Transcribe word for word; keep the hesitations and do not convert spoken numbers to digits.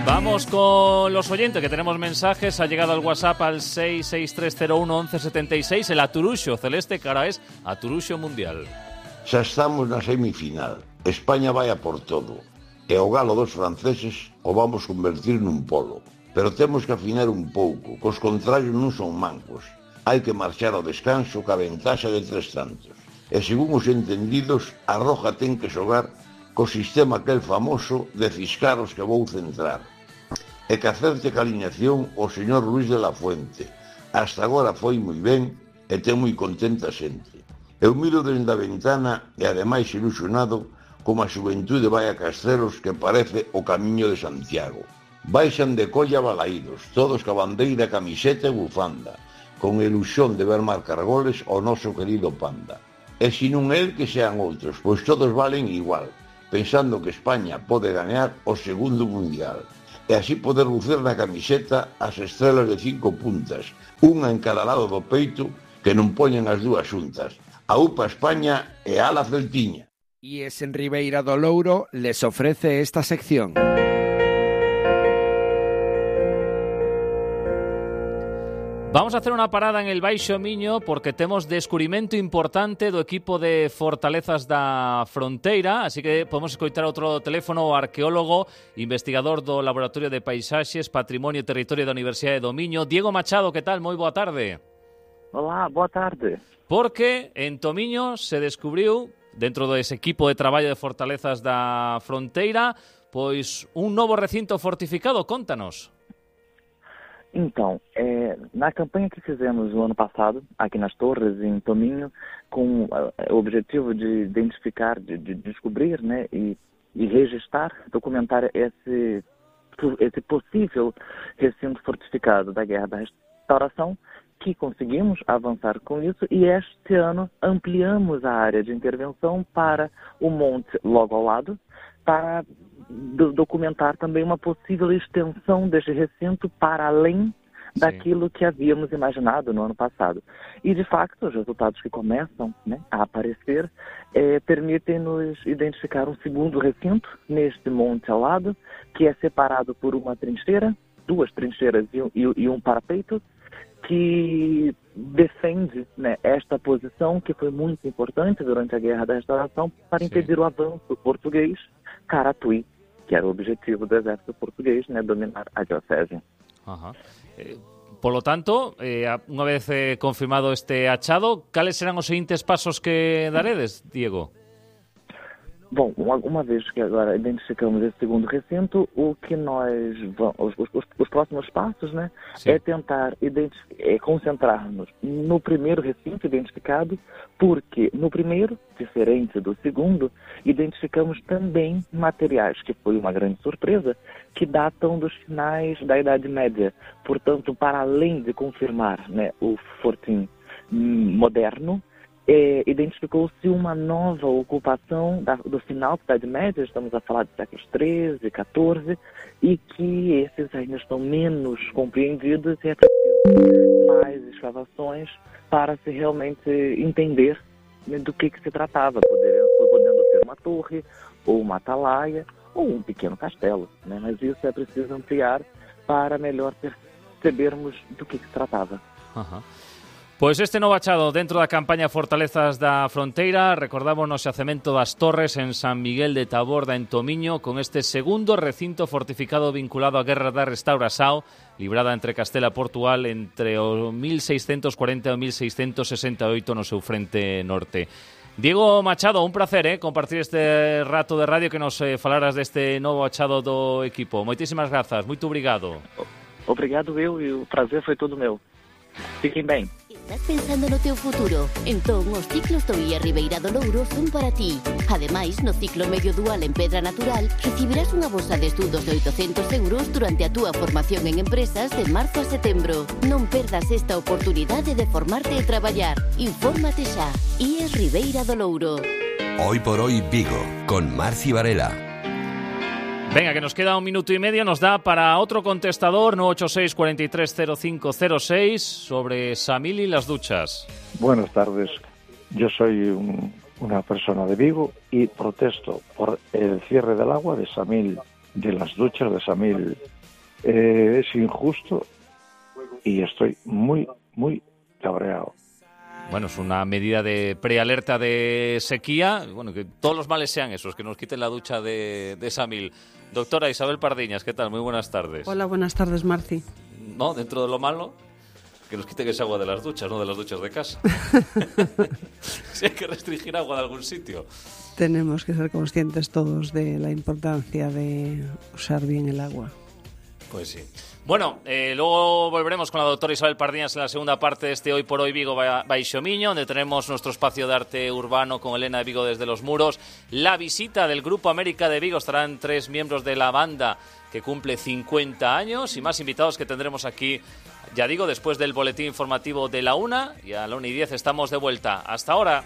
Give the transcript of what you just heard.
Vamos con los oyentes, que tenemos mensajes. Ha llegado al WhatsApp al seis seis tres cero uno once setenta y seis. El Aturuxo celeste, que ahora es Aturuxo Mundial. Xa estamos na semifinal. España vai a por todo. E o galo dos franceses o vamos convertir nun polo. Pero temos que afinar un pouco, cos contrarios non son mancos. Hai que marchar ao descanso ca ventaxa de tres tantos. E según os entendidos, a Roja ten que xogar co sistema aquel famoso de ciscaros que vou centrar. E que acerte ca alineación o señor Luis de la Fuente. Hasta agora foi moi ben e ten moi contenta xente. Eu miro dende a ventana e ademais ilusionado como a xuventude vai a Castrelos, que parece o camiño de Santiago. Baixan de colla balaídos, todos ca bandeira, camiseta e bufanda, con ilusión de ver marcar goles ao noso querido Panda. E se non el, que sean outros, pois todos valen igual, pensando que España pode gañar o segundo mundial. E así poder lucir na camiseta as estrelas de cinco puntas, unha en cada lado do peito, que non poñen as dúas xuntas. A UPA España e a la Celtiña. Y es en Ribeira do Louro les ofrece esta sección. Vamos a hacer una parada en el Baixo Miño porque temos descubrimento importante do equipo de Fortalezas da Fronteira, así que podemos escoitar outro teléfono ao arqueólogo, investigador do Laboratorio de Paisaxes, Patrimonio e Territorio da Universidade do Miño, Diego Machado. Que tal? Moi boa tarde. Olá, boa tarde. Porque en Tomiño se descubriu, dentro dese equipo de traballo de Fortalezas da Fronteira, pois un novo recinto fortificado. Contanos. Então, é, na campanha que fizemos no ano passado, aqui nas Torres, em Tominho, com é, o objetivo de identificar, de, de descobrir, né, e, e registrar, documentar esse, esse possível recinto fortificado da Guerra da Restauração, que conseguimos avançar com isso, e este ano ampliamos a área de intervenção para o monte logo ao lado, para do, documentar também uma possível extensão deste recinto para além Sim. daquilo que havíamos imaginado no ano passado. E, de facto, os resultados que começam, né, a aparecer é, permitem-nos identificar um segundo recinto neste monte ao lado, que é separado por uma trincheira, duas trincheiras e, e, e um parapeito, que defende, né, esta posição que foi muito importante durante a Guerra da Restauração para impedir Sim. o avanço português Caratuí, que era o objetivo do exército português, né, dominar a diocese. Ajá. Eh, por lo tanto, eh, unha vez eh, confirmado este achado, cales serán os seguintes pasos que daredes, Diego? Bom, uma, uma vez que agora identificamos esse segundo recinto, o que nós vamos, os, os, os próximos passos, né, Sim. é tentar é concentrar-nos no primeiro recinto identificado, porque no primeiro, diferente do segundo, identificamos também materiais, que foi uma grande surpresa, que datam dos finais da Idade Média. Portanto, para além de confirmar, né, o fortim moderno, É, identificou-se uma nova ocupação da, do final da Idade Média, estamos a falar de séculos treze, quatorze, e que esses ainda estão menos compreendidos e é preciso mais escavações para se realmente entender, né, do que, que se tratava, podendo, podendo ser uma torre, ou uma atalaia, ou um pequeno castelo, né? Mas isso é preciso ampliar para melhor percebermos do que, que se tratava. Uhum. Pois este novo achado dentro da campaña Fortalezas da Fronteira, recordamos no xacemento das Torres en San Miguel de Taborda, en Tomiño, con este segundo recinto fortificado vinculado á Guerra da Restauração, librada entre Castela e Portugal entre o mil seiscentos cuarenta e o mil seiscentos sesenta e oito no seu frente norte. Diego Machado, un placer eh, compartir este rato de radio que nos eh, falaras deste novo achado do equipo. Moitísimas grazas, moito obrigado. Obrigado eu e o prazer foi todo meu. Fiquem bem. ¿Estás pensando no teu futuro? Entón, os ciclos do I A Ribeira do Louro son para ti. Ademais, no ciclo medio dual en Pedra Natural, recibirás unha bolsa de estudos de oitocentos euros durante a túa formación en empresas de marzo a setembro. Non perdas esta oportunidade de formarte e traballar. Infórmate xa. I A Ribeira do Louro. Hoy por hoy Vigo, con Marci Varela. Venga, que nos queda un minuto y medio, nos da para otro contestador, nueve ocho seis, cuatro tres cero cinco cero seis, sobre Samil y las duchas. Buenas tardes, yo soy un, una persona de Vigo y protesto por el cierre del agua de Samil, de las duchas de Samil eh, es injusto y estoy muy, muy cabreado. Bueno, es una medida de prealerta de sequía. Bueno, que todos los males sean esos, que nos quiten la ducha de, de Samil. Doctora Isabel Pardiñas, ¿qué tal? Muy buenas tardes. Hola, buenas tardes, Marci. No, dentro de lo malo, que nos quiten esa agua de las duchas, no de las duchas de casa. Si hay que restringir agua de algún sitio. Tenemos que ser conscientes todos de la importancia de usar bien el agua. Pues sí. Bueno, eh, luego volveremos con la doctora Isabel Pardiñas en la segunda parte de este Hoy por Hoy Vigo Baixo Miño, donde tenemos nuestro espacio de arte urbano con Elena de Vigo desde los muros. La visita del Grupo América de Vigo, estarán tres miembros de la banda que cumple cincuenta años y más invitados que tendremos aquí, ya digo, después del boletín informativo de la una, y a la una y diez estamos de vuelta. Hasta ahora.